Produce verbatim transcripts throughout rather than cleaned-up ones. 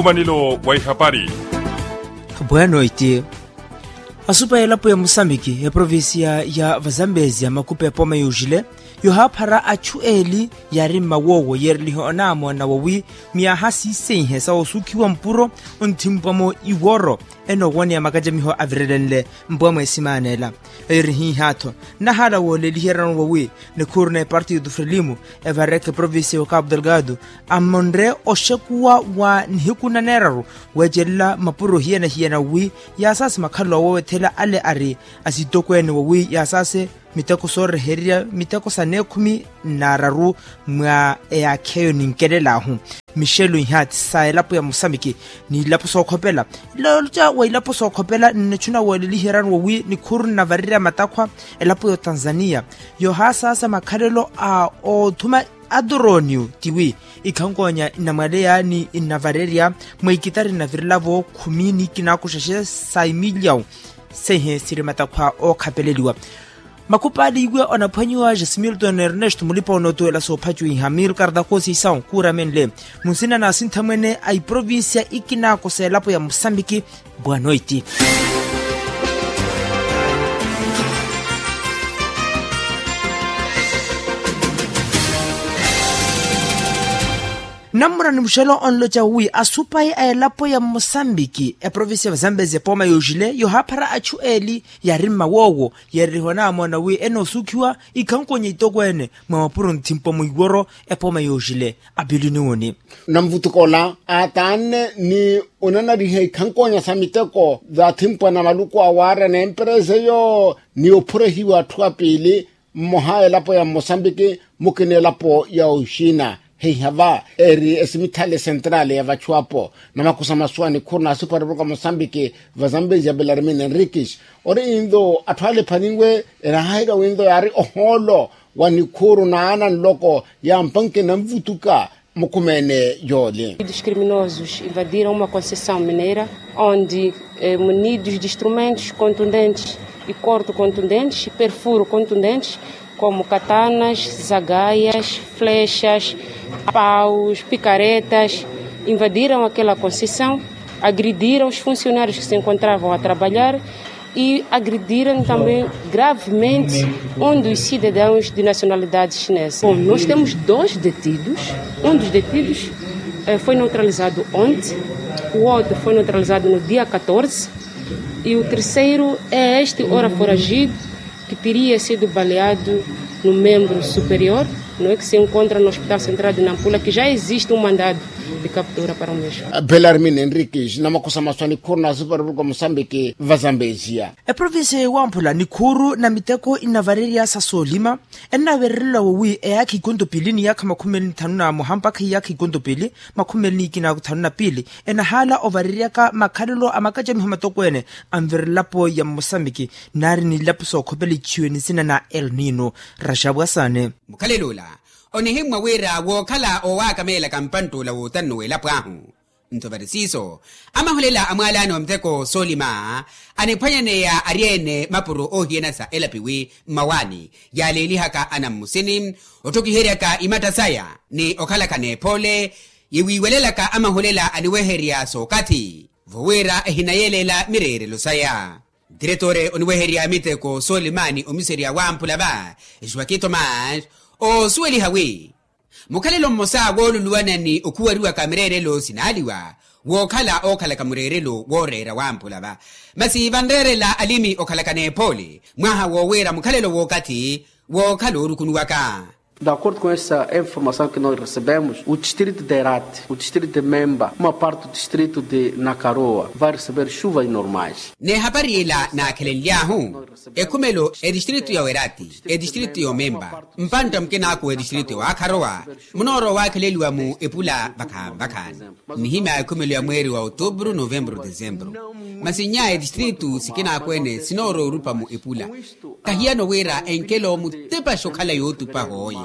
Omanelo wa ihapari. Bwanoiti. Asupa elapo ya musambiki eprovincia ya vazambezia makupa epooma yoojile yohaaphara achu eli yaari mmawoowo yeerelihe onaamoona wawi myaha siiseihe sa osuukhiwa mpuro onthimpwa-mo iworo. Enoowoneya makacamiho avirelenle mpwa mweesimaana ela. Eyo eri hiihaatho nnahaala wooleliheryano wawi nikhuuru na epartido frelimo evareke provincia ya okapu delgado amonre oxekuwa wa nihiku naneeraru weecelela mapuro hiyana-hiyana wi yaasaase makhalelo awowethela ale ari asitokweene wawi yaasaase miteko soorehererya miteko sa neekhumi nnaararu mwa eyaakha eyo ninkelelaahu. Mixelo ihaati sa elapo ya musambiki n'ilapo sookhopela. Loloca wa ilapo sookhopela nnichuna wooleliheryano wawi nikhuuru nnavarerya matakhwa elapo ya otanzania yohaasaasa makhalelo a othuma aturonio tiwi ikhankonya nnamwaleya ni nnavarerya mwa ikitari nnavirelavo khumi ni ikinakoxaxe sa imiliyawu. Seihe siri matakhwa ookhapeleliwa. Makupaali iwe onaphwanyiwa jasimilton ernesto mulipa onootuwela soophacuwiha mil kardakosi isawu kuuramenle munsina na asinthamwene a iprovincia ikinakosa elapo ya musambiki. Bwanoiti. Nammura ni muxelo onloca wi asupayi a elapo ya mosambiki eprovincia ya vazambezi epooma yooxile yohaaphara achu eli yaari mmawoowo yeererihiwa naamoona wi enoosuukhiwa ikhankonya itokweene mwa mapuro nthimpwa mwiworo epooma yooxile. Apilini woni. Namvutukola aataanne ni onanariha ikhankonya sa miteko zaathimpwa na maluku awaarya na emperesa eyo ni ophurehiwa atthu apiili mmoha elapo ya mmosambiki mukina elapo ya oxina. Heiha va eri esimithale sentrale ya vachuwapo namakusa masuwa nikhuuru na asipari vuruka mosambiki vazambezi ya belarmine enriquis ori intho atthu ale ephaninwe enahahika wintho yaari ohoolo wa nikhuuru na ana nloko ya mpanke namvutuka. Mukhumeene yoole. Dos criminosos invadiram uma concessão mineira onde munidos de instrumentos contundentes e corto contundentes e perfuro contundentes como katanas, zagaias, flechas, paus, picaretas, invadiram aquela concessão, agrediram os funcionários que se encontravam a trabalhar e agrediram também gravemente um dos cidadãos de nacionalidade chinesa. Bom, nós temos dois detidos. Um dos detidos foi neutralizado ontem, o outro foi neutralizado no dia catorze e o terceiro é este ora foragido que teria sido baleado no membro superior, não é, que se encontra no Hospital Central de Nampula, que já existe um mandado de captura para o mesmo. Belarmine enriquis namakusa maswa nikhuuru na asipari vuruka mosambiki vazambezia. Eprovincia ya iwamphula nikhuuru na miteko inavarerya sa soolima ennavererela wowi eyaakha ikonto piili ni yaakha makhumi eli ni thanu na moha mpakha iyaakha ikonto piili makhumi eli ni ikinaku thanu na piili enahaala ovareryaka makhalelo a makacamiho matokweene anverelapo ya mmosambiki naari ni ilapo sookhopela ichiwe ni nsina na elnino. Raxapu asaane. Mukhalelo ola onihimmwa wira wookhala owaakameelaka mpantt'ula wootanno w'elapo ahu. Nto vari siiso amahulela a mwaalaani wa miteko soolima aniphwanyaneya ari-ene mapuro oohiyana sa elapiwi mmawaani yaaleelihaka ana mmusini otthokiheryaka imatta saya ni okhalaka n'ephoole yiwiiwelelaka amahulela aniweherya sookathi vo wira ehinayeeleela mireerelo saya. Diretore oniweherya miteko soolimaani omiserya wamphula va esiwaki thomas oosuweliha wi mukhalelo mmosa wooluluwana ni okhuwariwaka mireerelo sinaaliwa wookhala ookhalaka mureerelo wooreera wamphula va masi vanreerela alimi okhalaka n'ephoole mwaha woowira mukhalelo w'okathi wookhala oorukunuwaka. D'acordo com essa informação que nós recebemos o distrito de herati o distrito de memba uma parte do distrito de nakaroa vai receber chuvas normais. N'ehapari ela naakhelenly'ahu ekhumelo etistritu ya werati etistritu ya omemba mpantta mukinaku w'etistritu ya waakharowa munoorowa owaakheleliwa mu epula vakhaani-vakhaani. Nnihimya ekhumelo ya mweeri wa otubru novembru desembru masi nnya etistritu sikinaku-ene sinoorowa orupa mu epula. Kahiyano wira enkelo mutepaxe okhala yootupa hooye.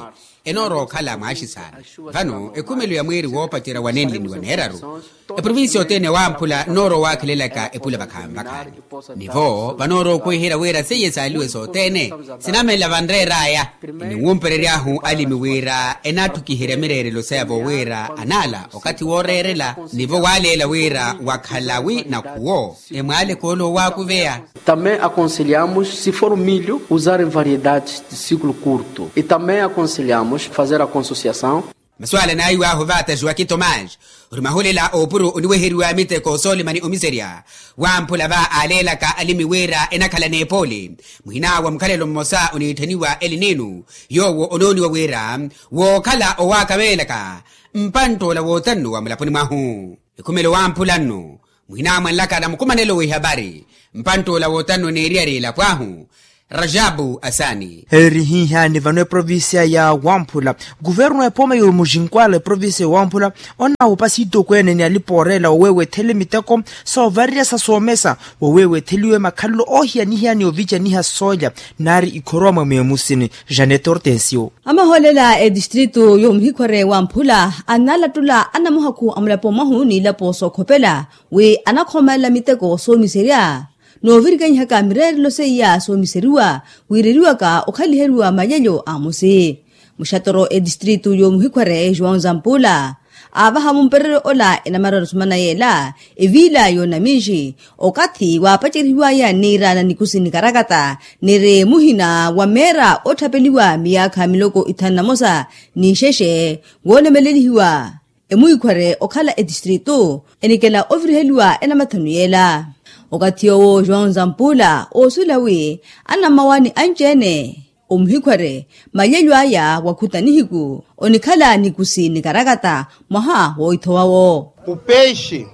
Enoorowa okhala mwaaxisaana. Vano ekhumelo ya mweeri woopacerya wa nenle ni wa neeraru, eprovinsiya othene wamphula noorowa owaakhelelaka epula vakhaani vakhaani. Nivo vanoorowa okwiherya wira seiye saaliwe sothene, sinamela vanreer'aya. Eniwumperery'ahu alimi wira enaathukiherya mireerelo saya vowira anaala okathi wooreerela. Nivo waaleela wira wakhala wi nakhuwo emwaaleke ole owaakuveya. Também aconselhamos, se for milho, usarem variedades de ciclo curto. E também aconselhamos fazer a consociação. Masu ala naahiw'ahu vaataxiwa ki tomage, ori mahulela oopuro oniweheriwa miteko soolimani omiserya. Wamphula va aaleelaka alimi wira enakhala n'epooli. Muhina wa mukhalelo mmosa oniitthaniwa elinino, yoowo onooniwa wira wookhala owaakaveelaka mpantt'ola wootannu wa mulaponi mwahu. Ekhumelo wamphula nno muhina mwanlaka na mukumanelo w'ihapari, mpantt'ola wootannu neeriyari elapo ahu. Rajabu asani. Eeri hihani vano eprovinsiya ya wamphula, kuvernu epooma y'omuxinkwala eprovinsiya ya wamphula onawupa siitokweene ni alipa ooreela oweewethele miteko soovarerya sa soomesa, woweewetheliwe makhalelo oohiyanihiyani ovicaniha soolya nari ikhorowa mwa mweemusini. Janet hortensio. Amahoolela etistritu y'omuhikhwere wamphula annalattula anamuhakhu a mulapo mwahu n'ilapo sookhopela wi anakhoomalela miteko soomiserya, noovirikanyihaka mireerelo seiya soomiseriwa wiireriwaka okhaliheriwa malyelyo a musi. Muxatoro etistritu y'omuhikhwere joão zampula aavaha mumpereryo ola enamarari osumana yeela eviila y'onaminxi okathi waapacerihiwaya niira na nikusi nikarakata niri muhina wa meera otthapeliwa miyaakha miloko ithanu na mosa n'ixexe woolemelelihiwa emuhikhwere okhala etistritu enikela oviriheliwa enamathanu yeela. Okathi yoowo joão zampula oosuwela wi anammawaani anci-ene omuhikhwere malyelyo aya wakhuta nihiku onikhala nikusi nikarakata mwaha woithowawo. O peixe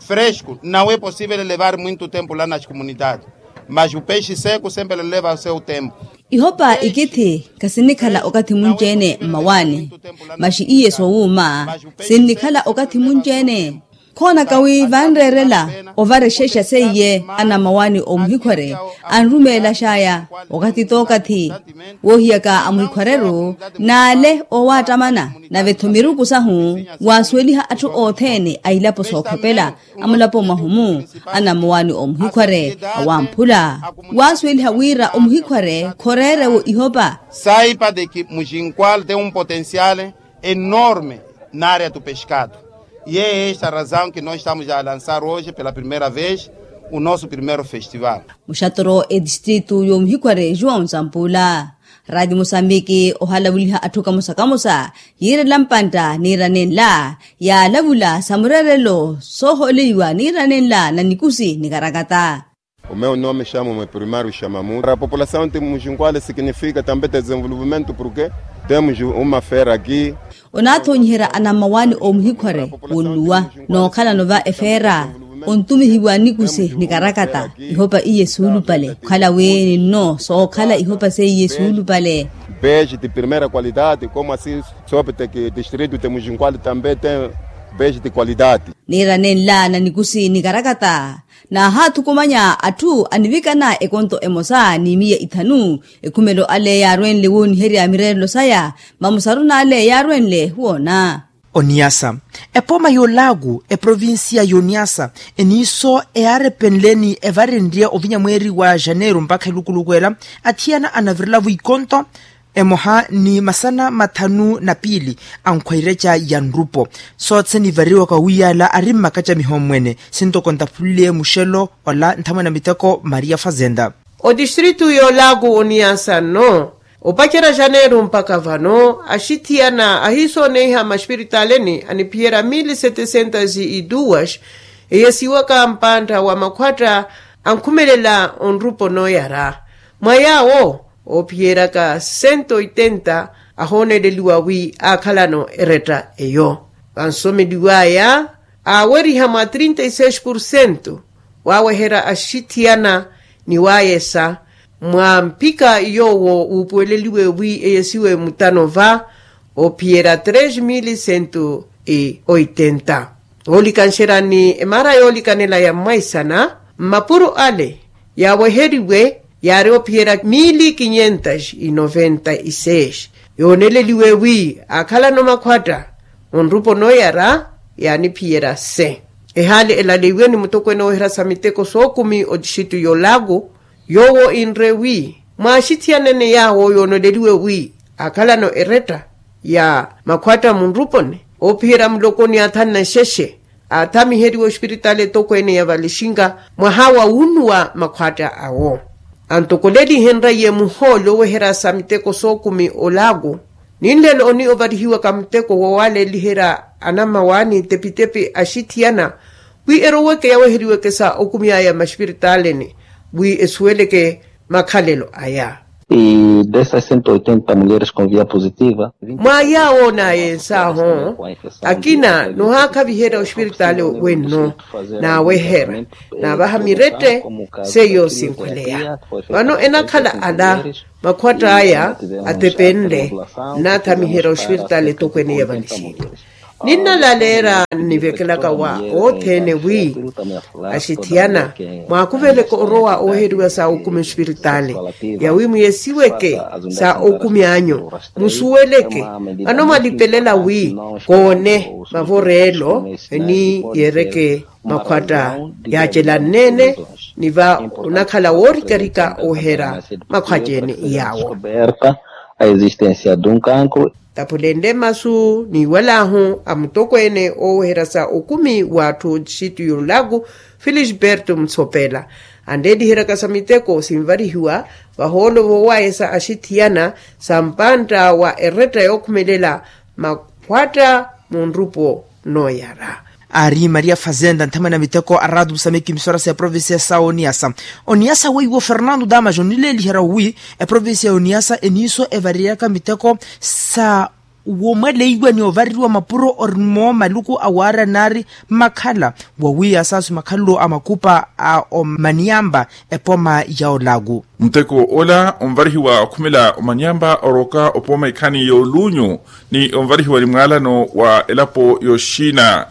fresco não é possível levar muito tempo lá nas comunidades, mas o peixe seco sempre leva o seu tempo. Ihopa ikithi khasinnikhala okathi munci-ene mmawaani, maxi iye soowuuma sinnikhala okathi munci-ene. Khoonaka wi vanreerela ovarexexa seiye anammawaani omuhikhwere anrumeelaxaya okathi t'okathi woohiyaka amuhikhwareru naale oowaattamana nave-tho miruku sahu waasuweliha atthu othene a ilapo sookhopela a mulapo mwahu-mu anammawaani omuhikhware awamphula waasuweliha wira omuhikhware khoreere-wo ihopa. Saipa de ki muxinkwal tem um potencial enorme na área do pescado. E é esta razão que nós estamos a lançar hoje pela primeira vez o nosso primeiro festival. Muxatoro etistritu y'omuhikhware joão zampula. Radi musambiki ohalavuliha atthu kamosa kamosa yiirela mpantta niira nenla yaalavula sa mureerelo soohooleiwa niira nenla na nikusi nikarakata. O meu nome chamo me primário chamamu a população de muxinkwale significa também desenvolvimento porque temos uma feira aqui. Onaathoonyiherya anammawaani omuhikhware wonnuwa nookhalano va efeera ontumihiwa nikusi nikarakata ihopa iye suulupale okhala wi ninno sookhala ihopa seiye suulupale. Peixe de primeira qualidade como assim soopeteke distrito de muxinkwale também tem peixe de qualidade. Niira nenla na nikusi nikarakata naahaathukumanya atthu anivikana ekonto emosa ni miya ithanu. Ekhumelo ale yaarwenle wooniherya mireerelo saya mamusaru n'ale yaarwenle woona. Oniyasa epooma y'olaku eprovinsiya y'oniyasa eniiso eyaarepenle ni evarenrye ovinya mweeri wa janeiru mpakha elukuluku ela athiyana anavirelavo ikonto emoha ni masana mathanu na piili ankhwaireca ya nrupo. Soothene ivariwaka wiiyala ari mmakaca mihommwene sintoko ntaphulile muxelo ola nthamwene a miteko maria fazenda. Odistritu y'olaku oniyasa nno opacerya janeiro mpakha vano axithiyana ahiisooneiha maxipiritaleni aniphiyerya mili setecientos e duas eyesiwaka mpantta wa makhwatta ankhumelela onrupo nooyara mwa yaawo oophiyeryaka sento oitenta ahooneleliwa wi aakhalano eretta eyo vansomeliwaya aaweriha mwa trinta e seis porcento waaweherya axithiyana ni waayesa mwa mphika yoowo wuupuweleliwe wi eyesiwe mutano va oophiyerya tres mili sento e oitenta. Oolikanxerya ni emara yoolikanela ya mwaisana mmapuro ale yaaweheriwe yaari ophiyerya mili kinyentas e noventa e seis Yooneleliwe wi akhalano makhwatta munrupo noyara yaaniphiyerya se. Ehaali elaleiwe ni mutokweene ooherya sa miteko sookumi otixitu y'olaaku, yoowo inre wi mwaaxithiyanene yaawo yooneleliwe wi akhalano eretta ya makhwatta munruponi oopiherya muloko ni athanu na xexe aathamiheriwa oxipiritaali etokweene ya valixinka mwaha wa wunnu wa makhwatta awo. Antokolelihenrye muhoolo oweherya sa miteko sookumi olaaku, ninlelo oni ovarihiwaka muteko wowaleliherya anammawaani tepitepi axithiyana wi eroweke yaweheriweke sa okumi aya maxipiritaali-ni wi esuweleke makhalelo aya. E dessas cento e oitenta mulheres com via positiva, mwa yaawo naayensaaho akina nohaakhaviherya oxipiritaali wenno naaweherya naavaha mirette seiyo sinkhweleya. Vano enakhala ala makhwatta aya atepenle nnathamiherya oxipiritaali etokweene ya valixinka. Ninnalaleera nnivekelaka wa othene wi axithiyana mwaakuveleke orowa ooheriwa sa okumi oxipiritaali yawi mwiyesiweke sa okumi anyu musuweleke vano mwalipelela wi koone mavoreelo ni yeereke makhwatta yaacelanneene ni va onakhala woorikarika ooherya makhwatta ene iyaawo. Taphulenle masu niiwalaahu a mutokweene ooweherya sa okumi w'atthu otixitu y'olaaku felisberto mutshopela anreeliheryaka sa miteko sinvarihiwa vahoolo voowayesa axithiyana sa mpantta wa eretta yookhumelela makhwatta munrupo nooyara. Aari maria fazenda nthamwene a miteko a rato musameki misorasa ya provincia sa oniyasa. Oniyasa weiwo fernando damas onileeliherya wi eprovincia ya oniyasa eniiso evariryaka miteko sa womweleiwa ni ovaririwa mapuro orimo maluku awaarya naari makhala wawi asaasu makhalelo a makupa a omaniyamba epoma ya olaku. Muteko ola onvarihiwa okhumela omanyamba oroka opooma ikhani y'olunyu ni onvarihiwa ni mwaalano wa elapo y'oxina.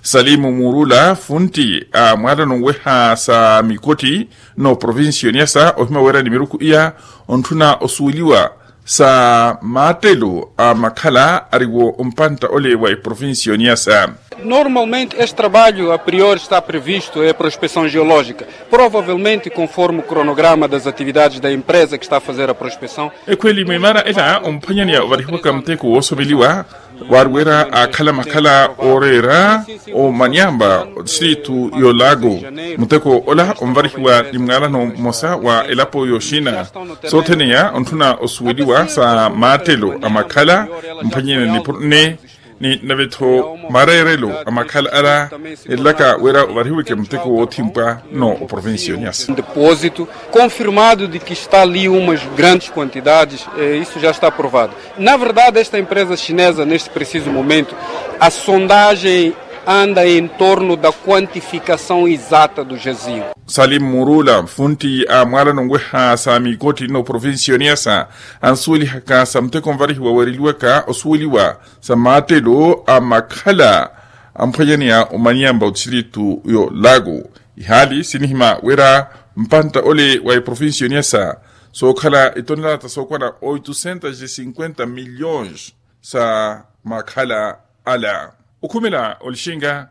Salimu murula funti a mwaalano nweha sa mikotti n'oprovincia y'oniyasa ohima wira ni miruku iya ontthuna osuweliwa sa maattelo a makhala ariwo ompantta ole wa eprovincia y'oniyasa. Normalmente este trabalho a priori está previsto e prospeção geológica provavelmente conforme o cronograma das atividades da empresa que está a fazer a prospeção. Ekhweli mwimaara ela omphwanyaniya ovarihiwaka muteko woosomeliwa waari wira akhala makhala ooreera omanyamba otistritu y'olago. Muteko ola onvarihiwa ni mwaalano mmosa wa elapo y'oxina sothene ya ontthuna osuweliwa sa maattelo a makhala mphwanyaniya nipuro nne ni nave-tho mareerelo a makhala ala. Elaka wira ovarihiweke muteko woothimpwa no oprovincia y'oniyasa. Depósito confirmado de que está ali umas grandes quantidades. Isso já está aprovado. Na verdade esta empresa chinesa neste preciso momento a sondagem anda em torno da quantificação exata do jazigo. Salim murula funti a mwaalano nweha sa mikotti n'oprovincia y'oniyasa ansuwelihaka sa muteko onvarihiwa weereliwaka osuweliwa sa maattelo a makhala amphwanyaneya omanyamba otistritu y'olago. Ihaali sinihima wira mpantta ole wa eprovincia y'oniyasa sookhala etonelata sookwana oitusentas e cinquenta milhões sa makhala ala. Okhumela olixinga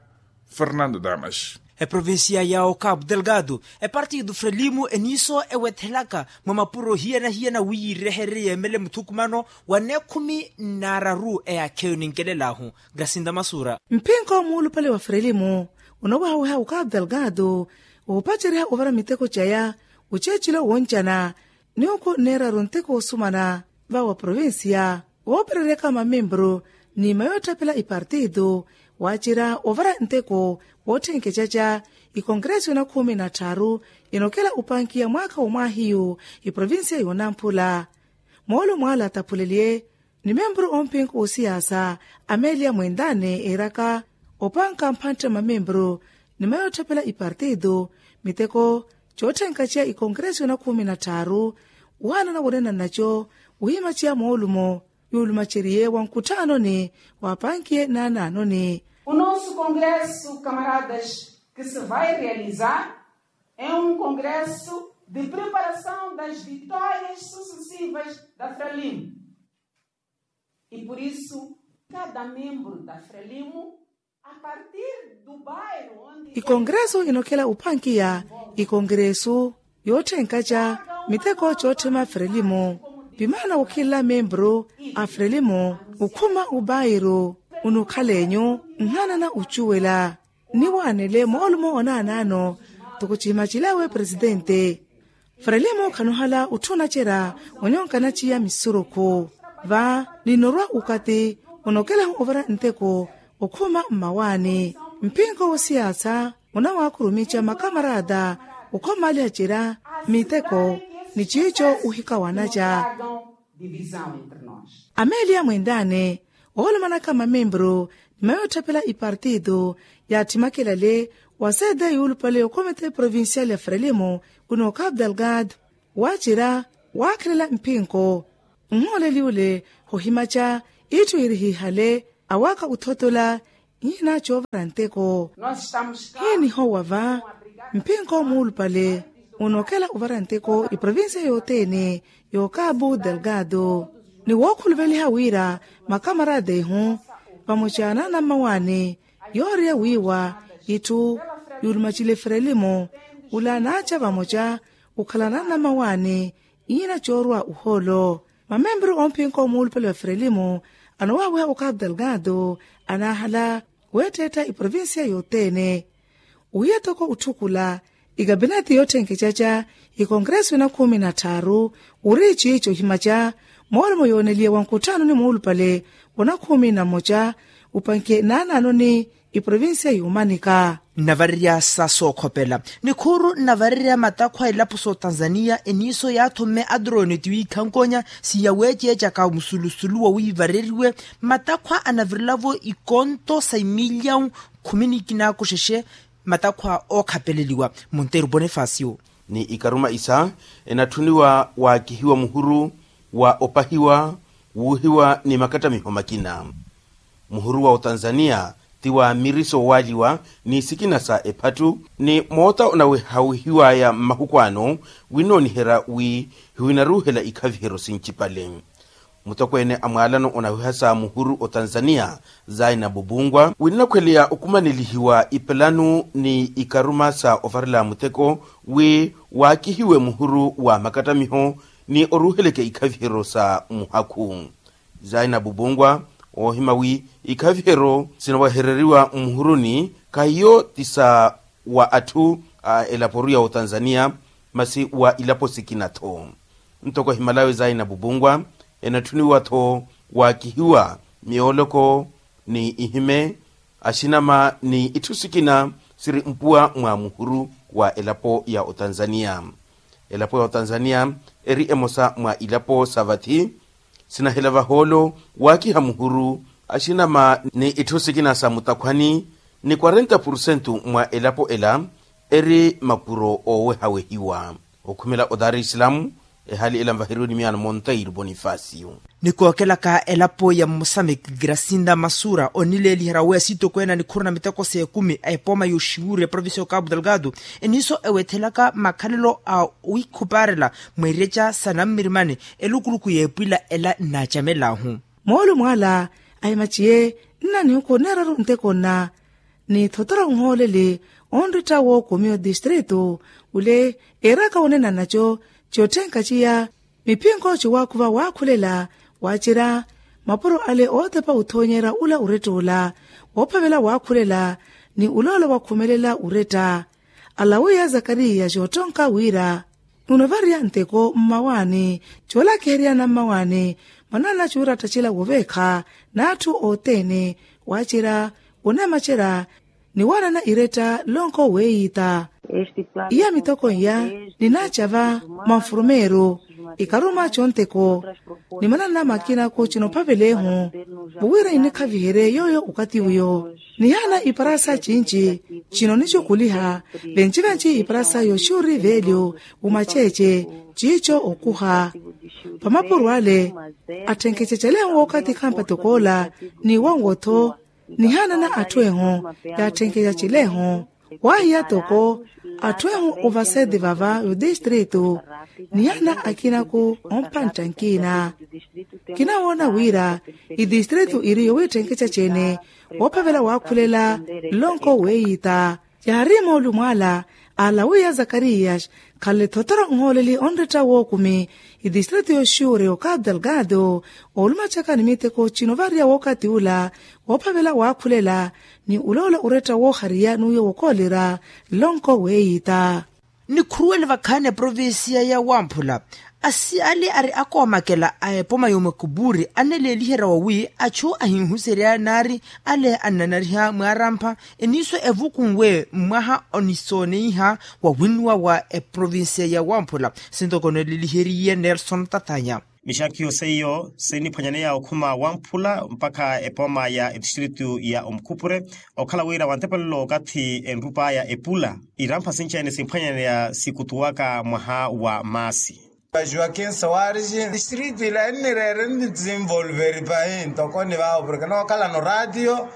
fernando damas. Eprovincia ya okapu delgado epartido frelimo eniiso ewethelaka mwa mapuro hiyana-hiyana wi yiireherye yeemele muthukumano wa neekhumi n'araru eyaakheyo ninkelel'ahu. Grasinda masura. Mpinko muulupale wa frelimo onowaha-weha okapu delgado oopaceriha ovara miteko caya oceecelo woncana ni okhu nneeraru nteko osumana vawa provincia woopereryaka mamembru ni mayootthapela ipartido waacerya ovara nteko wootthenkecaca. Ikonkeresi yoona khumi na tthaaru inokela opankiya mwaakha womwaahiyu iprovincia yoonamphula moolumo ala taphuleliye ni membru ompinko osiyaasa amelia mwendane eeraka opanka mphantte mamembru ni mayootthapela ipartido miteko cootthenkaceya ikonkeresi yoona khumi na tthaaru. Waanana wonenanaco wihimaceya moolumo yuulumaceriye wa nkutthaanoni waapankiye naanaanoni. O nosso congresso camaradas que se vai realizar é um congresso de preparação das vitórias sucessivas da frelimo. E por isso, cada membro da frelimo, a partir do bairro onde ikongresu inokhela uphankiya ikongresu yootthenkatxa miteko cootthema frelimo. Pimaana wokhinla membro a frelimo ukhuma ubairu unukhal'enyu nhanana ucuwela nniwaanele moolumo onaanaano. Toko cihimacil'awe presidente frelimo khanuhala utthuna cera onyonkana ciya misurukhu va ninorwa ukati onokelahu ovara nteko okhuma mmawaani mpinko wosiyaasa onawaakurumica makamarata okhomaliha cera miteko ni ciico ohikawanaca. Ameeliya mwentane oolomanaka mamembro ni mayootthapela ipartito yaathimakelale wa sede yuulupale okomite provincial ya frelimo kuno cape delgado waacira waakhelela mpinko nhooleli ule hohimaca itthu yirihihale awaaka othotola hiina coovara nteko. Hiinihowa va mpinko muulupale onokela ovara nteko iprovincia yothene yo cape delgado ni wookhuluveliha wira makamarata ehu vamoca n'anammawaani yooriya wiiwa itthu yuulumacile frelimo ula naaca vamoca okhala n'anammawaani iina coorwa ohoolo. Mamembro oomphinko muulupale wa frelimo anowaawiha okapu delgado anaahala weetteetta iprovincia yothene ohiya toko otthukula ikapineti yootthenkececa ikongreso ina khumi na tthaaru ori ciico ohimaca moolomo yooneliye wa nkutthaanoni muulupale wona khumi na mmoca upanke naanaanoni iprovincia y'omanika. Nnavarerya sa sookhopela nikhuuru nnavarerya matakhwa a elapo s'otanzaniya eniiso yaatthomme adroni ti wiikhankonya siyaweeceecaka musulusulu wa wiivareriwe matakhwa anavirelavo ikonto sa imiliyawu khumi ni kinaakoxexe matakhwa ookhapeleliwa monteiro bonifasio ni ikaruma isa enatthuniwa waakihiwa muhuru wa opahiwa wuuhiwa ni makattamiho makina. Muhuru wa otanzaniya ti wa miriso owaaliwa ni sikina sa ephattu ni moota onawehawihiwaya mmahuku ano winnooniherya wi hiwinaruuhela ikhaviheryo sincipale. Mutokweene a mwaalano onawiha sa muhuru otanzaniya zaina bubungwa winnakhweleya okumanelihiwa ipelanu ni ikaruma sa ovarela muteko wi waakihiwe muhuru wa makattamiho ni oruuheleke ikhaviheryo sa muhakhu. Zaina bubungwa oohima wi ikhaviheryo sinawehereriwa mmuhuruni khahiyo ti sa wa atthu a elaporu ya otanzaniya masi wa ilapo sikina-tho. Ntoko ohimalawe zaina bubungwa enatthuniwa-tho waakihiwa myooloko ni ihime axinama ni itthu sikina siri mpuwa mwa muhuru wa elapo ya otanzaniya. Elapo ya otanzaniya eri emosa mwa ilapo sa vathi sinahela vahoolo waakiha muhuru axinama ni itthu sikina sa mutakhwani ni quarenta porcento mwa elapo ela eri makuro oowehawehiwa. Okhumela o dar es salaam ehaali ela nvaheriwe ni miyaano monteiro bonifasio. Nikookelaka elapo ya mmosamiki grasinda masura onileeliherya weya siitokweene a nikhuru na miteko s'ekumi a epooma y'oxiwuuri eprovincia y'okapu delgado eniiso ewethelaka makhalelo a wikhupaarela mweereca sa nammirimani elukuluku y'epwila ela nnaacamel'ahu. Moolumo ala ahimaciye nnanihuku neeraru nteko nna ni thotoro nhooleli onritta wookomiwa distritu ule eeraka onena naco cootthenka ciya miphinko ciwaakhuva waakhulela waacira mapuro ale ootepa othoonyerya ula oretta ola woophavela waakhulela ni uloolo wakhumelela oretta. Alawiya zakariya coottonka wira nunavariya nteko mmawaani coolakiheryana mmawaani mwanana cuurattacela woveekha n'atthu othene waacira onemacerya ni waanana iretta lonko weeyiita. Iya mitoko iya ninaacava mwa nfurumeeru ikaruma conteko ni manana makinaku cinophavelehu vuwira inikhaviherye yooyo okathi uyo. Nihaana iparasa cinci cino nicukuliha venci-venci iparasa yoxuri velyo umaceece ciico okuha vamapuro ale atthenkeca calehu wookathi khampa tokoola ni wonwo-tho nihaana na atthu ehu yaatthenkeca cilehu waahiya toko Atthu ehu ovaseti vava vitistritu ni ana akinaku ompantta nkina. Kinawoona wira itistritu iri yowiittenkece cene woophavela waakhulela nlonko weeyiita. Yaari moolumo ala alawiya zakariyas khanle thotoro nhooleli onretta wookumi itistritu yoxuure okapu delgado oolumacaka ni miteko cino vaariya wookati ula woophavela waakhulela ni uloola oretta woohariya n'uyo wokoolerya nlonko weeyiita. Nikhuruwele vakhaani eprovincia ya wamphula asi ale ari akoomakela a epoma y'omakupuri aneleeliherya wawi achu ahinhuserya naari ale annanariha mwaarampha eniiso evukunwe mmwaha onisooneiha wa winnuwa wa eprovincia ya wamphula. Sintoko neleliheriye nelson tathanya. Mixakhiyo seiyo siniphwanyaneya okhuma wamphula mpakha epooma ya etistritu ya omukhupure okhala wira wantepelelo okathi enrupaya epula irampha sinci-ene simphwanyaneya sikutuwaka mwaha wa maasi. Joaquim soares distritu ila ennireere nnisinvolveri pahi ntokoni vawo porke nookhalano ratio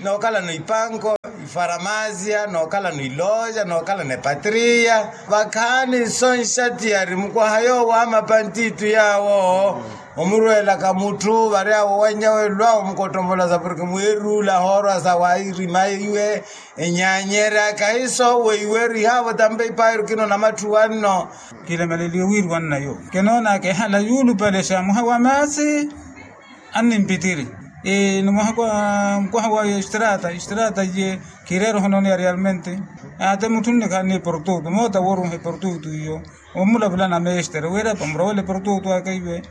nookhalano ipanko ifaramasia nookhalano iloja nookhalano epatria. Vakhaani nso nxatiyari mukwaha yoowo amapantitu yaawo omurweelaka mutthu vari awo wanyawe lwa omukottomolasa porke mweeruula hoorwa sa wairima iwe enyaanyerya kahiso weiweru ihaavo tampe ipaayiru kinoona matthu wanno. Kilemeleliwe wiiri wannayo kinoonaka ehala yuulupalexa mwaha wa maasi. Annimpitiri ni mwaha kwa mukwaha wa estrata estrata iye kireera ohononeya realmente. Ate mutthu nnikhaani eprotutu moota wooruha eprotutu iyo omulavula na mestre wira pamurowela eprotutu aka iwe.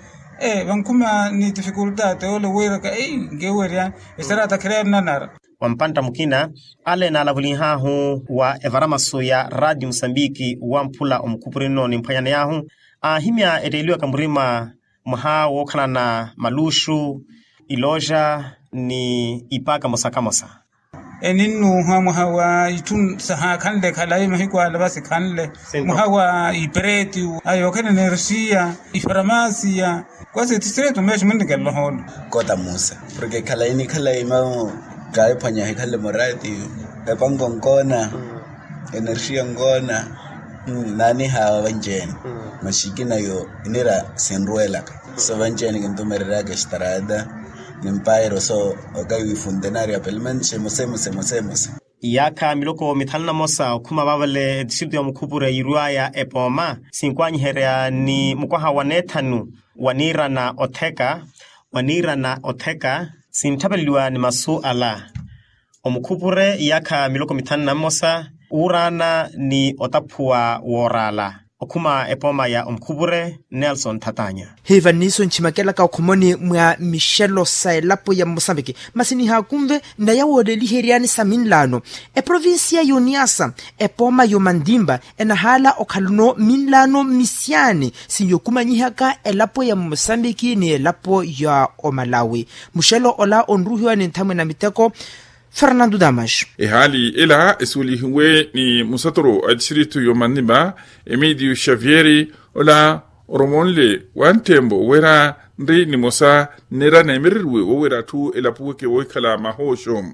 Vankhuma ni tifikultate ole wiiraka ei nkewerya estrata khireera nnanara. Wa mpantta mukina ale naalavulinhaahu wa evaramasu ya raati musambiki wamphula omukhupuri nno nimphwanyaneyaahu aahimya etteeliwaka murima mwaha wookhalana maluxu ilooja ni ipaaka mosa kamosa. Eninnuuha mwaha wa itthu sahaakhanle khalayi mahiku ala vasikhanle mwaha wa ipereti a yookhala enerxiya ifaramasiya. Kwasi etistritu meexi munnikela ohoolo. Kota musa porke khalayi ni khalayi mamu kaayiphwanya ahikhanle murati epanko nkoona enerxiya nkoona. Naanihawa vanci-ene maxikina yo inira sinruwelaka so vanci-ene kintumereryaka estrata ni mpairo so okayiwa ifuntenario apelmenti semosemosemosemosa. Iyaakha miloko mithanu na mosa okhuma vaavale etistritu ya mukhupure yiirwaya epooma sinkwanyiherya ni mukwaha wa neethanu waniirana otheka waniirana otheka sintthapeleliwa ni masu ala. Omukhupure iyaakha miloko mithanu na mmosa wuuraana ni otaphuwa wooraala okhuma epooma ya omukhupure nelson thatanya. Hiiva nniiso ntximakelaka okhomoni mwa mixelo sa elapo ya mosambiki masi nihaakunve naya wooleliheryani sa minlaano eprovincia y'oniasa epooma y'omandimba enahaala okhalano minlaano misiani sinyokumanyihaka elapo ya mosambiki ni elapo ya omalawi. Muxelo ola onruhiwa ni nthamwina miteko fernando damas. Ehaali ela esuwelihiwe ni musatoro a distritu y'omandimba emilio xavier ola oromonle wa nttempo wira nri nimosa nneera neemereriwe wowira atthu elapuweke woohikhala mahooxo.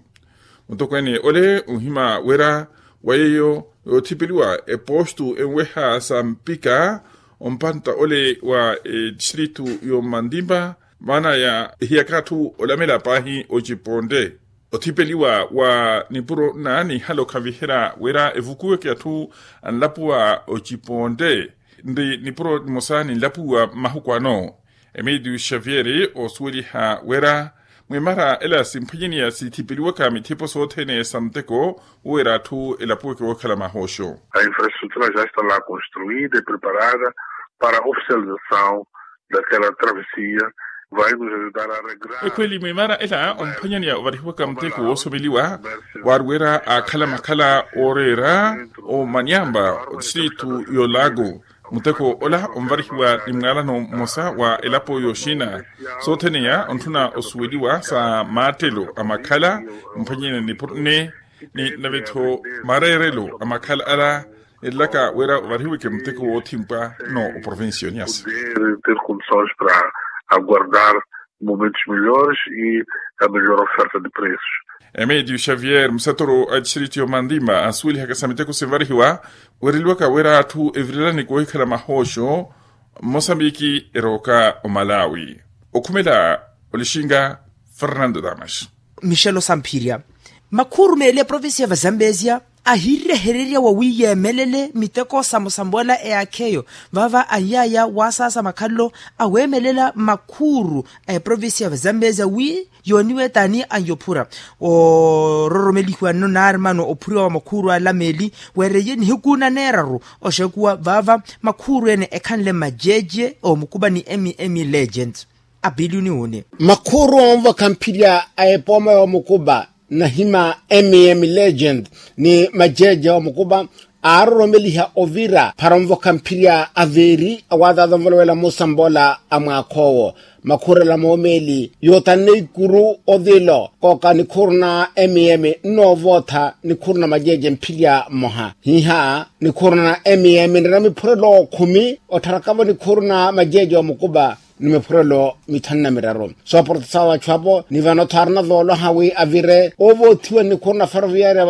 Mutokweene ole onhima wira wa yeeyo yoothipeliwa epostu enweha sa mpika ompantta ole wa etistritu y'omandimba maana ya ehiyaka atthu olamela paahi ocipontte. Othipeliwa wa nipuro nna nihala okhaviherya wira evukuweke atthu anlapuwa ocipontte nri nipuro nimosa ninlapuwiwa mmahuku ano. Emilio xavier osuweliha wira mwimara ela simphwanyaniya sithipeliwaka mithipo sothene sa muteko wira atthu elapuweke wookhala mahooxo. A infrastrutura ja está la construida e preparada para oficialização daquela travessia vai nos ajudar a regrar. Ekhweli mwimara ela omphwanyaniya ovarihiwaka muteko woosomeliwa waari wira aakhala makhala ooreera omaniamba odistritu y'olago. Muteko ola onvarihiwa ni mwaalano mmosa wa elapo y'oxina sootheneya ontthuna osuweliwa sa maattelo a makhala mphwanyene nipuro nne ni nave-tho mareerelo a makhala ala. Elaka wira ovarihiweke muteko woothimpwa no oprovincia y'oniasa. Ter condições para aguardar. Momentos melhores e a melhor oferta de preços. Emídio Xavier, museturu a distrito yo mandima asuwelihaka sa miteko sinvarihiwa, wereliwaka wira atthu evirelani koohikhala mahooxo. Mosambiki erooka omalawi. Okhumela olixinga fernando damas. Michelo samphirya makhuuru meeli a provincia va zambezia ahirehererya wawiiyeemelele miteko samosamola eyaakheyo. Vava anyaya wasaasa makhalelo aweemelela makhuuru a eprovincia va zambezia wi yooniwetani anyophura ororomelihiwa nno naari mano ophuriwa wa makhuuru ala meeli. Weereye nihiku na neeraru oxekuwa vava makhuuru ene ekhanle majeje omukuba ni mm legend. Apiliyuni wuni makhuuru onvokha mphirya a epooma y'omukuba nahima mm legend ni majeje y'omukuba aaroromeliha ovira phara onvokha mphirya aveeri awaataata onvolowela musambola a mwaakh'owo. Makhuurela moomeeli yootanne ikuru ovilo kooka nikhuuru na mm nnoovootha nikhuuru na majeje mphirya mmoha hiiha nikhuuru na mm nrina miphurelo khumi ottharakavo nikhuuru na majeje y'omukuba ni miphurelo mithanu na miraru. Sooporta sawa achu apo ni vano-tho aarina voolwaha wi avire oovoothiwa ni nikhuuru na ferroviaria.